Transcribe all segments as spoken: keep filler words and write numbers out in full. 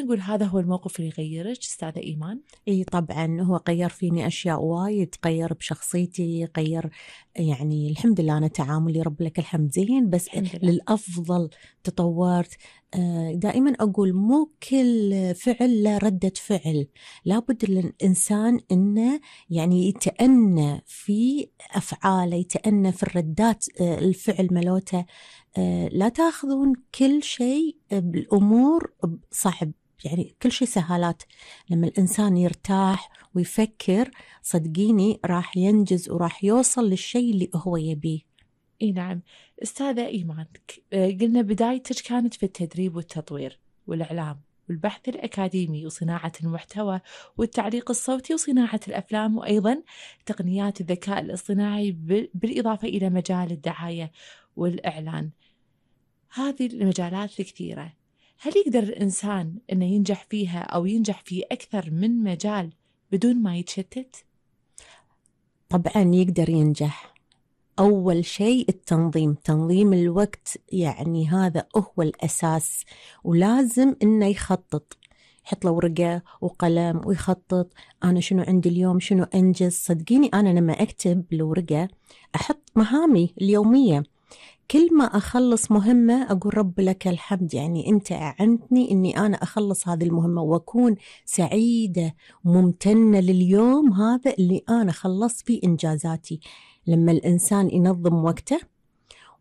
نقول هذا هو الموقف اللي يغيرك أستاذة إيمان؟ اي طبعا هو غير فيني اشياء وايد، غير بشخصيتي، غير يعني الحمد لله انا تعاملي رب لك الحمد زين، بس الحمد لله. للافضل تطورت. دائما اقول مو كل فعل له ردة فعل، لابد الانسان انه يعني يتأنى في افعاله، يتأنى في الردات الفعل ملوته. لا تاخذون كل شيء بالامور صعب، يعني كل شيء سهالات. لما الإنسان يرتاح ويفكر صدقيني راح ينجز وراح يوصل للشيء اللي هو يبيه. إي نعم. أستاذة إيمان، قلنا بدايتك كانت في التدريب والتطوير والإعلام والبحث الأكاديمي وصناعة المحتوى والتعليق الصوتي وصناعة الأفلام، وأيضا تقنيات الذكاء الاصطناعي بالإضافة إلى مجال الدعاية والإعلان. هذه المجالات الكثيرة، هل يقدر الإنسان أنه ينجح فيها أو ينجح في أكثر من مجال بدون ما يتشتت؟ طبعا يقدر ينجح. أول شيء التنظيم، تنظيم الوقت، يعني هذا هو الأساس، ولازم إنه يخطط، يحط له ورقة وقلم ويخطط أنا شنو عندي اليوم، شنو أنجز. صدقيني أنا لما أكتب بالورقة أحط مهامي اليومية، كل ما أخلص مهمة أقول رب لك الحمد، يعني أنت أعنتني أني أنا أخلص هذه المهمة وأكون سعيدة ممتنة لليوم هذا اللي أنا خلصت فيه إنجازاتي. لما الإنسان ينظم وقته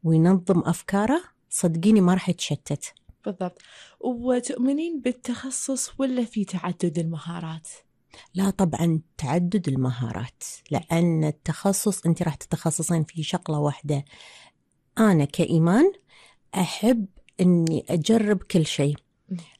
وينظم أفكاره صدقيني ما راح يتشتت. بالضبط. وتؤمنين بالتخصص ولا في تعدد المهارات؟ لا طبعا تعدد المهارات، لأن التخصص أنت راح تتخصصين في شغلة واحدة. أنا كإيمان أحب أني أجرب كل شيء.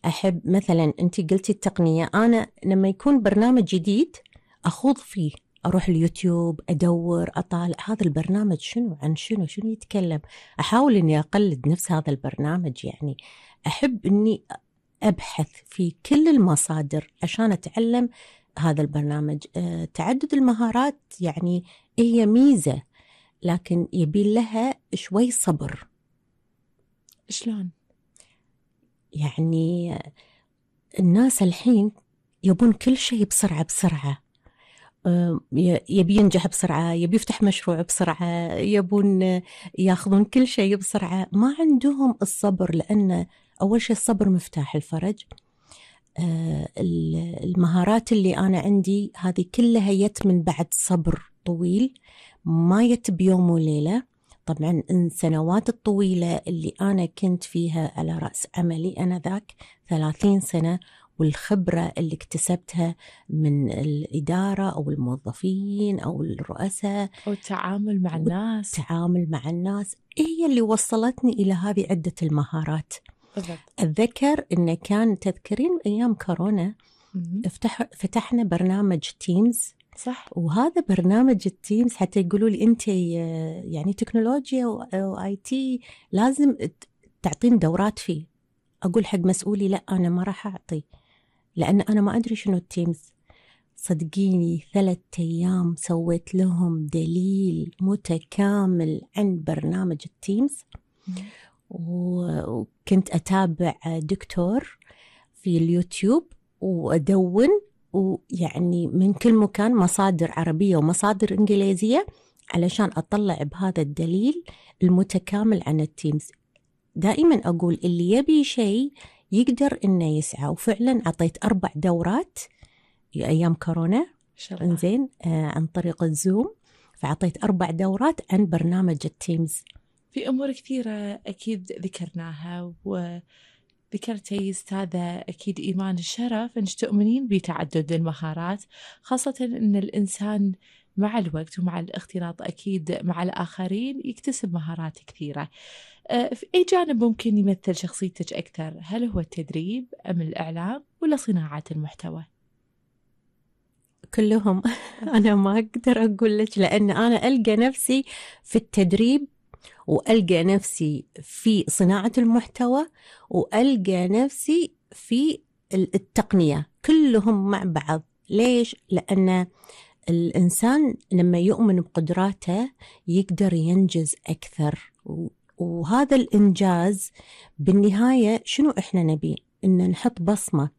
أحب مثلا أنت قلتي التقنية، أنا لما يكون برنامج جديد أخوض فيه، أروح اليوتيوب أدور أطالع هذا البرنامج شنو عن شنو شنو يتكلم، أحاول أني أقلد نفس هذا البرنامج. يعني أحب أني أبحث في كل المصادر عشان أتعلم هذا البرنامج. أه تعدد المهارات يعني هي ميزة، لكن يبي لها شوي صبر. شلون؟ يعني الناس الحين يبون كل شيء بسرعة بسرعة، يبي ينجح بسرعة، يبي يفتح مشروع بسرعة، يبون ياخذون كل شيء بسرعة، ما عندهم الصبر. لأن أول شيء الصبر مفتاح الفرج. المهارات اللي أنا عندي هذه كلها يت من بعد صبر طويل، ما يت بيوم وليلة. طبعا السنوات الطويلة اللي أنا كنت فيها على رأس عملي أنا ذاك ثلاثين سنة، والخبرة اللي اكتسبتها من الإدارة أو الموظفين أو الرؤساء أو التعامل مع الناس، التعامل مع الناس هي اللي وصلتني إلى هذه عدة المهارات. بالضبط. أتذكر إنه كان تذكرين أيام كورونا افتح فتحنا برنامج تيمز، صح. وهذا برنامج التيمز حتى يقولوا لي أنت يعني تكنولوجيا وآي تي لازم تعطين دورات فيه. أقول حق مسؤولي لا أنا ما راح أعطي، لأن أنا ما أدري شنو التيمز. صدقيني ثلاثة أيام سويت لهم دليل متكامل عن برنامج التيمز، وكنت أتابع دكتور في اليوتيوب وأدون، ويعني من كل مكان مصادر عربية ومصادر إنجليزية علشان أطلع بهذا الدليل المتكامل عن التيمز. دائما أقول اللي يبي شيء يقدر إنه يسعى، وفعلا عطيت أربع دورات أيام كورونا إنزين آه عن طريق الزوم، فعطيت أربع دورات عن برنامج التيمز. في أمور كثيرة أكيد ذكرناها، وذكرتي أستاذة أكيد إيمان الشرف أنك تؤمنين بتعدد المهارات، خاصة أن الإنسان مع الوقت ومع الاختلاط أكيد مع الآخرين يكتسب مهارات كثيرة. في أي جانب ممكن يمثل شخصيتك أكثر؟ هل هو التدريب أم الإعلام ولا صناعة المحتوى؟ كلهم. أنا ما أقدر أقول لك، لأن أنا ألقى نفسي في التدريب، وألقى نفسي في صناعة المحتوى، وألقى نفسي في التقنية، كلهم مع بعض. ليش؟ لأن الإنسان لما يؤمن بقدراته يقدر ينجز أكثر، وهذا الإنجاز بالنهاية شنو إحنا نبي؟ إن نحط بصمة